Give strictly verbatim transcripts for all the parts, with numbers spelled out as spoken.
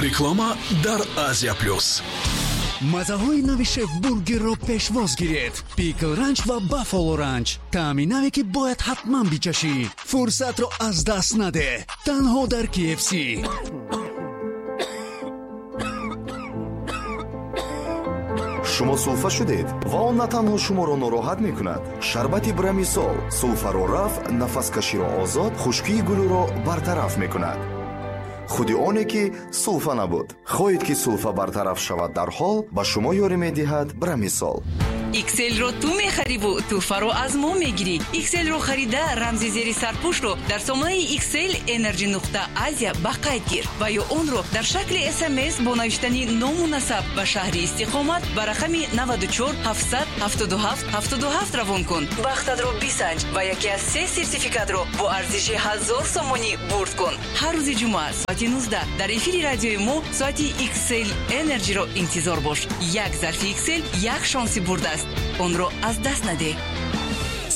Реклама дар Азия Плюс. Мазаҳои нави Шеф Бургерро пешвоз гиред. Пикл Ранч ва Баффало Ранч. Таъми наве, ки бояд ҳатман бичашӣ. Фурсатро аз даст надеҳ. Танҳо дар K F C. Шумо сулфа шудед ва он на танҳо шуморо нороҳат мекунад. Шарбати Брамисол сулфаро рафъ, нафаскаширо озод, хушкии гулӯро бартараф мекунад. Худи оне ки сулфа набуд. Хоҳед, ки сулфа бартараф шавад дарҳол, ба шумо ёрӣ медиҳад Брамисол. Икселро ту мехариву тӯҳфаро аз мо мегирӣ. Икселро харида, рамзи зери сарпӯшро дар сомонаи Иксел Энерҷи нуқта Азия ба қайд гир ва ё онро дар шакли С М С бо навиштани ному насаб ва шаҳри истиқомат ба рақами наваду чор ҳафтсад ҳафтоду ҳафт ҳафтоду ҳафт равон кун. Бахтатро бисанҷ ва яке аз се сертификатро бо арзиши ҳазор сомонӣ бурд кун. Ҳар рӯзи ҷумъа соати нуздаҳ дар эфири радиои мо соати Иксел Энерҷиро интизор бош. Як зарфи Иксел як шонси бурд аст, онро аз даст надеҳ.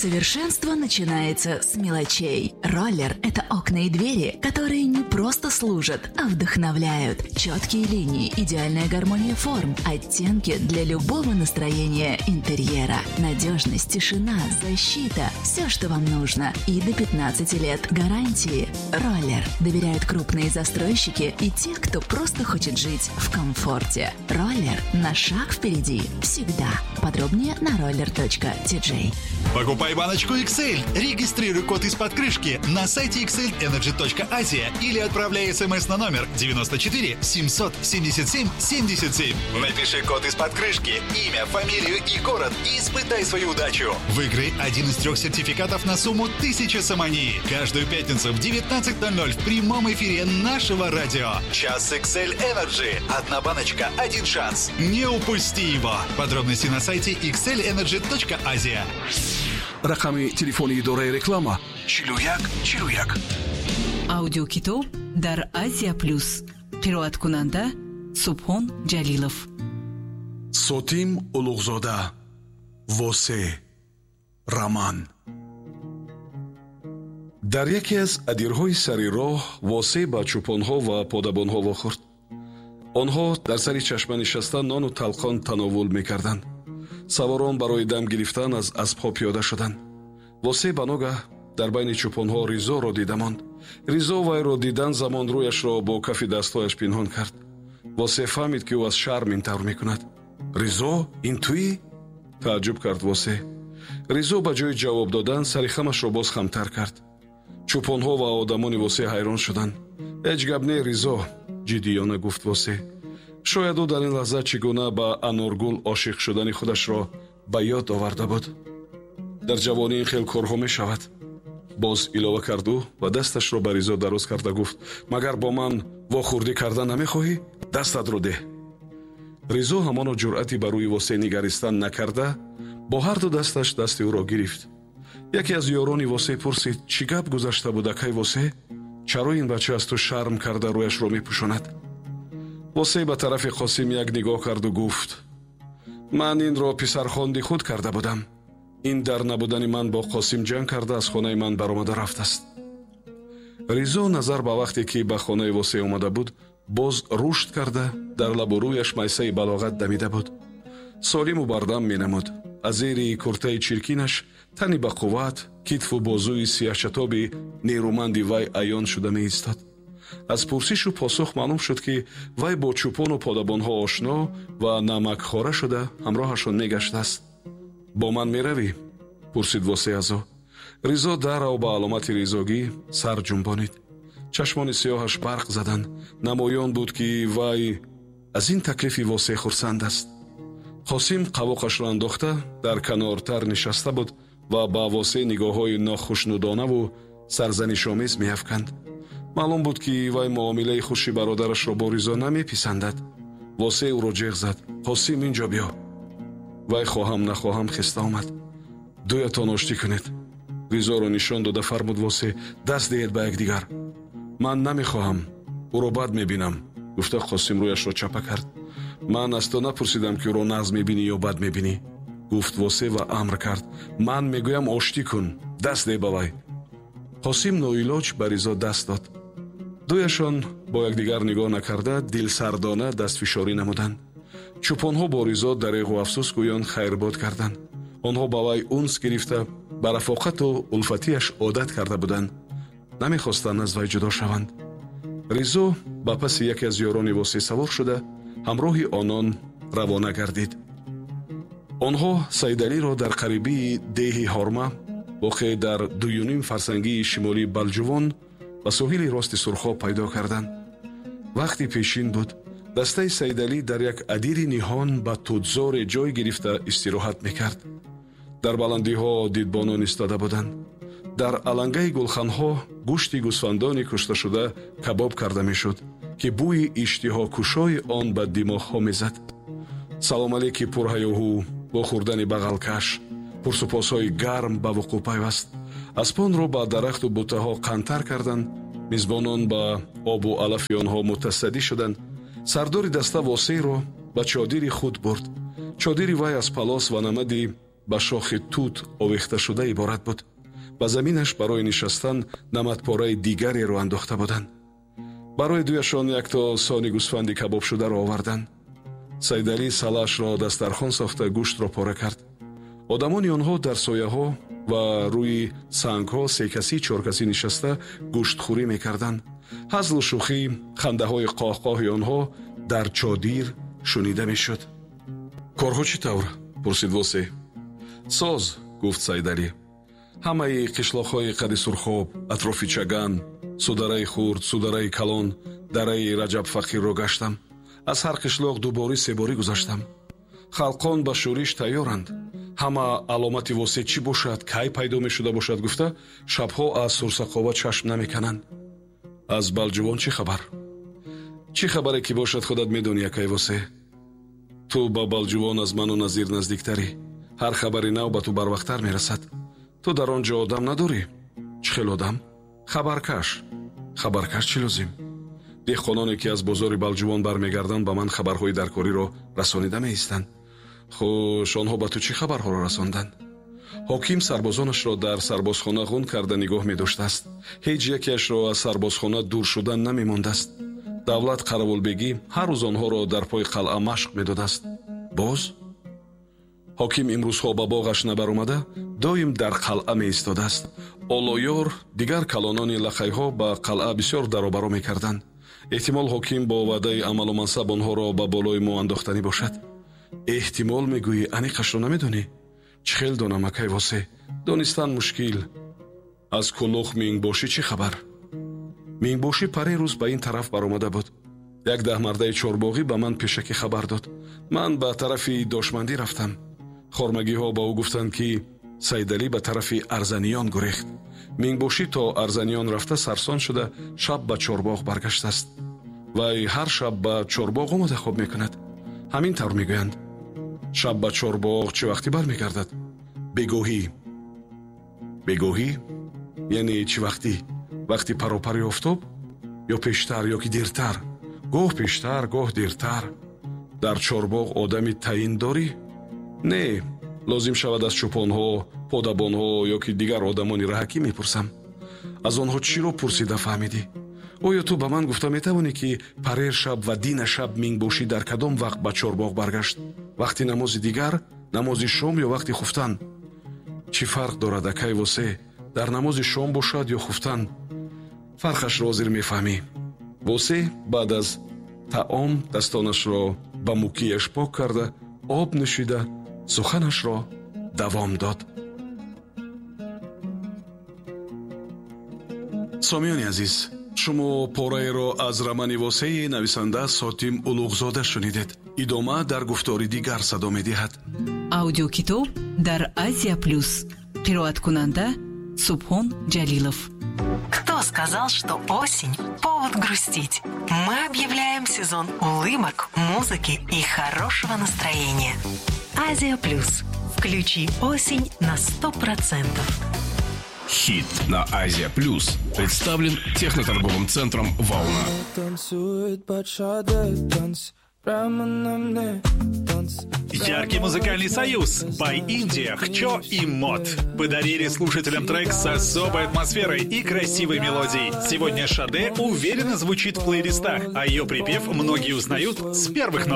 Совершенство начинается с мелочей. Роллер – это окна и двери, которые не просто служат, а вдохновляют. Четкие линии, идеальная гармония форм, оттенки для любого настроения интерьера. Надежность, тишина, защита – все, что вам нужно. И до пятнадцати лет гарантии. Роллер. Доверяют крупные застройщики и те, кто просто хочет жить в комфорте. Роллер на шаг впереди. Всегда. Подробнее на roller точка T J. Покупай баночку X L. Регистрируй код из-под крышки на сайте xlenergy точка asia или отправляй смс на номер девяносто четыре семьсот семьдесят семь семьдесят семь. Напиши код из-под крышки, имя, фамилию и город и испытай свою удачу. Выиграй один из трех сертификатов на сумму тысяча сомони. Каждую пятницу в девятнадцать ноль ноль в прямом эфире нашего радио. Час X L Energy. Одна баночка, один шанс. Не упусти его. Подробности на сайте xlenergy точка asia. Рақами телефони идораи реклама чилу як чилу як. Аудиокитоб дар Азия Плюс. Қироаткунанда Субҳон Ҷалилов. Сотим Улуғзода, «Восе», роман. Дар яке аз адирҳои сари роҳ Восе ба чӯпонҳо ва подабонҳо вохӯрд. Онҳо дар сари чашма нишаста нону талқон тановул мекарданд. Саворон барои дам гирифтан аз аспҳо пиёда шуданд. Восе ба ногаҳ дар байни чӯпонҳо Ризоро дида монд. Ризо вайро дидан замон рӯяшро бо кафи дастҳояш пинҳон кард. Восе фаҳмид, ки ӯ аз шарм ин тавр мекунад. «Ризо, ин туӣ?» тааҷҷуб кард Восе. Ризо ба ҷои ҷавоб додан сари хамашро боз хамтар кард. Чӯпонҳо ва одамони Восе ҳайрон шуданд. «Ҳеҷ гап не, Ризо», ҷиддиёна гуфт Восе. Шояд ӯ дар ин лаҳза чӣ гуна ба Аноргул ошиқ шудани худашро ба ёд оварда буд. «Дар ҷавонӣ ин хел корҳо мешавад», боз илова кард ӯ ва дасташро ба Ризо дароз карда гуфт: «Магар бо ман вохӯрдӣ карда намехоҳӣ? Дастатро деҳ». Ризо ҳамоно ҷуръати ба рӯи Восе нигаристан накарда, бо ҳарду дасташ дасти ӯро гирифт. Яке аз ёрони Восе пурсид: «Чӣ гап гузашта буд, акай Восе? Чаро ин бача аз ту шарм карда рӯяшро мепӯшонад?» Восе ба тарафи Қосим як нигоҳ карду гуфт: «Ман инро писархонди худ карда будам. Ин дар набудани ман бо Қосим ҷанг карда, аз хонаи ман баромада рафтааст». Ризо назар ба вақте ки ба хонаи Восе омада буд, боз рушд карда, дар лабу рӯяш майсаи балоғат дамида буд. Солиму бардам менамуд. Аз зери куртаи чиркинаш тани ба қувват, китфу бозуи сияҳчатоби нерӯманди вай аён шуда меистод. Аз пурсишу посух маълум шуд, ки вай бо чӯпону подабонҳо ошно ва намакхора шуда, ҳамроҳашон мегаштааст. «Бо ман меравӣ?» пурсид Восе аз ӯ. Ризо дарав ба аломати ризогӣ сар ҷунбонид. Чашмони сиёҳаш барқ заданд. Намоён буд, ки вай аз ин таклифи Восе хурсанд аст. Қосим қавоқашро андохта дар канортар нишаста буд ва ба Восе нигоҳҳои нохушнудонаву сарзанишомез меафканд. Маълум буд, ки вай муомилаи хуши бародарашро бо Ризо намеписандад. Восе ӯро ҷеғ зад: «Қосим, ин ҷо биё». Вай хоҳам нахоҳам хеста омад. «Дуятон оштӣ кунед», Ризоро нишон дода фармуд Восе. «Даст диҳед ба якдигар». «Ман намехоҳам, ӯро бад мебинам», гуфта Қосим рӯяшро чапа кард. «Ман аз ту напурсидам, ки ӯро нағз мебинӣ ё бад мебинӣ», гуфт Восе ва амр кард: «Ман мегӯям, оштӣ кун, даст деҳ ба вай». Қосим ноилоҷ ба Ризо даст дод. Дуяшон Бо якдигар нигоҳ накарда, дилсардона дастфишорӣ намуданд. Чӯпонҳо бо Ризо дареғу афсӯс гӯён хайрбод карданд. Онҳо ба вай унс гирифта, ба рафоқату улфатиаш одат карда буданд. Намехостанд аз вай ҷудо шаванд. Ризо ба паси яке аз ёрони Восеъ савор шуда, ҳамроҳи онон равона гардид. Онҳо Саидалиро дар қарибии деҳи Ҳорма, воқеъ дар дуюним фарсангии шимолии Балҷувон, ба соҳили рости Сурхоб пайдо карданд. Вақти пешин буд. Дастаи Саидалӣ дар як адири ниҳон ба тутзоре ҷой гирифта истироҳат мекард. Дар баландиҳо дидбонон истода буданд. Дар алангаи гулханҳо гӯшти гӯсфандони кушташуда кабоб карда мешуд, ки бӯи иштиҳокушои он ба димоғҳо мезад. Салом алейки пурҳаёҳу бо хӯрдани бағалкаш пурсупосҳои гарм ба вуқӯъ пайваст. Аспонро ба дарахту бутаҳо қантар карданд. Мизбонон ба обу алафи онҳо мутасаддӣ шуданд. Сардори даста Восеъро ба чодири худ бурд. Чодири вай аз палос ва намади ба шохи тут овехташуда иборат буд. Ба заминаш барои нишастан намадпораи дигареро андохта буданд. Барои дуяшон якто сони гӯсфанди кабобшударо оварданд. Саидалӣ салаашро дастархон сохта, гӯштро пора кард. Одамони онҳо дар сояҳо ва рӯи сангҳо секасӣ чоркасӣ нишаста гӯштхӯрӣ мекарданд. Ҳазлу шӯхӣ, хандаҳои қоҳқоҳи онҳо дар чодир шунида мешуд. Корҳо чӣ тавр? Пурсид Восеъ. Соз, гуфт Саидалӣ. Ҳамаи қишлоқҳои қади Сурхоб, атрофи Чаган, судараи хурд, судараи калон, дараи Раҷабфақирро гаштам. Аз ҳар қишлоқ дуборӣ себорӣ гузаштам. Халқон ба шӯриш тайёранд. Ҳама аломати Восеъ чӣ бошад, кай пайдо мешуда бошад гуфта, шабҳо аз сурсақова чашм намекананд. Аз Балҷувон чӣ хабар? Чӣ хабаре ки бошад, худат медонӣ, акай Восеъ. Ту ба Балҷувон аз ману Назир наздиктарӣ. Ҳар хабари нав ба ту барвақттар мерасад. Ту дар он ҷо одам надорӣ? Чӣ хел одам? Хабаркаш. Хабаркаш чӣ лозим? Деҳқононе ки аз бозори Балҷувон бармегарданд, ба ман хабарҳои даркориро расонида меистанд. Хуш, онҳо ба ту чӣ хабарҳоро расонданд? Ҳоким сарбозонашро дар сарбозхона ғун карда нигоҳ медоштааст. Ҳеҷ якеашро аз сарбозхона дур шудан намемондааст. Давлат Қаравулбегӣ ҳар рӯз онҳоро дар пои қалъа машқ медодааст. Боз ҳоким имрӯзҳо ба боғаш набаромада, доим дар қалъа меистодааст. Олоёр, дигар калонони лақайҳо ба қалъа бисёр даробаро мекарданд. Эҳтимол ҳоким бо ваъдаи амалу мансаб онҳоро ба болои мо андохтанӣ бошад. Эҳтимол мегӯӣ, аниқашро намедонӣ? Чӣ хел донам, акай Восеъ? Донистан мушкил. Аз Кулух Мингбошӣ чӣ хабар? Мингбошӣ паре рӯз ба ин тараф баромада буд. Як даҳмардаи чорбоғӣ ба ман пешакӣ хабар дод. Ман ба тарафи Дошмандӣ рафтам. Хормагиҳо ба ӯ гуфтанд, ки Саидалӣ ба тарафи Арзаниён гурехт. Мингбошӣ то Арзаниён рафта сарсон шуда, шаб ба чорбоғ баргаштааст. Вай ҳар шаб ба чорбоғ омада хоб мекунад. Ҳамин тавр мегӯянд. Шаб ба чорбоғ чӣ вақте бармегардад? Бегоҳӣ. Бегоҳӣ? Яъне чӣ вақтӣ? Вақти паропари офтоб? Ё пештар, ё ки дертар? Гоҳ пештар, гоҳ дертар. Дар чорбоғ одами таъин дорӣ? Не, лозим шавад аз чӯпонҳо, подабонҳо ё ки дигар одамони раҳакӣ мепурсам. Аз онҳо чиро пурсида фаҳмидӣ? Оё ту ба ман гуфта метавонӣ, ки парер шаб ва дина шаб Мингбошӣ дар кадом вақт ба чорбоғ баргашт? Вақти намози дигар, намози шом ё вақти хуфтан? Чӣ фарқ дорад, акай Восеъ, дар намози шом бошад ё хуфтан? Фарқашро ҳозир мефаҳмӣ. Восеъ баъд аз таом дастонашро ба мукияш пок карда, об нӯшида, суханашро давом дод. Сомиёни азиз, шумо пораеро аз романи Восеи нависанда Сотим Улуғзода шунидед. Идома дар гуфтори дигар садо медиҳад. Аудиокитоб дар Азия Плюс. Қироаткунанда Субҳон Ҷалилов. Кто сказал, что осень – повод грустить? Мы объявляем сезон улыбок, музыки и хорошего настроения. Азия Плюс. Включи осень на сто процентов. Хит на Азия Плюс представлен техноторговым центром «Волна». Танцует бачата, танц, прямо на мне, танц. Яркий музыкальный союз By India, Хчо и Мот подарили слушателям трек с особой атмосферой и красивой мелодией. Сегодня Шаде уверенно звучит в плейлистах, а ее припев многие узнают с первых нот.